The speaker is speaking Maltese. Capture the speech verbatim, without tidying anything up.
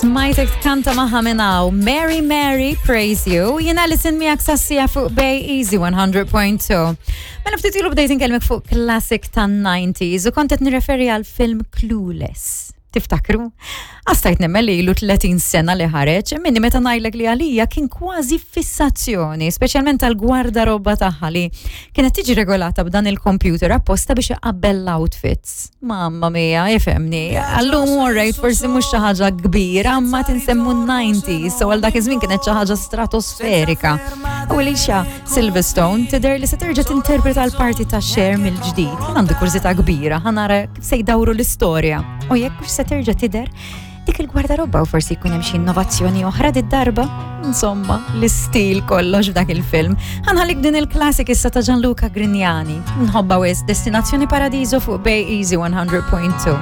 Smajtek tkanta magħha minn hawn. Mary Mary, Praise You. Jiena Alison miegħek sas-siegħa fuq Bay Easy one hundred point two. Mela ftit ilu bdejt inkellmek fuq classic tan-nineties u kont qed nirreferi għal film Clueless. Tiftakru? Għastajt nemmen li ilu tletin sena li ħareġ, minni meta ngħidlek li għalija kien kważi fissazzjoni, speċjalment tal-gwardarobba tagħha li kienet tiġi regolata b'dan il-computer apposta biex iqabbel l-outfits. Mamma mia, ifhimni, għallum alright, forsi mhux xi ħaġa kbira, ma tinsemmu nineties, so għal dak iż-żmien kienet xi ħaġa stratosferika. U Alicia Silverstone tidher li se terġa' tinterpreta l-parti ta' Cher mill-ġdid. Jien għandi kurżità kbira, ħa nara kif se jdawru l-istorja. U jekk hux se terġa' tidher dik il-gwardarobba u forsi jkun hemm xi innovazzjoni oħra did-darba. Insomma, l-istil kollox f'dak il-film. Ħa nħallik din il-classic issa ta' Gianluca Grignani. Nħobbha wisq, Destinazzjoni Paradiso fuq Bay Easy one hundred point two.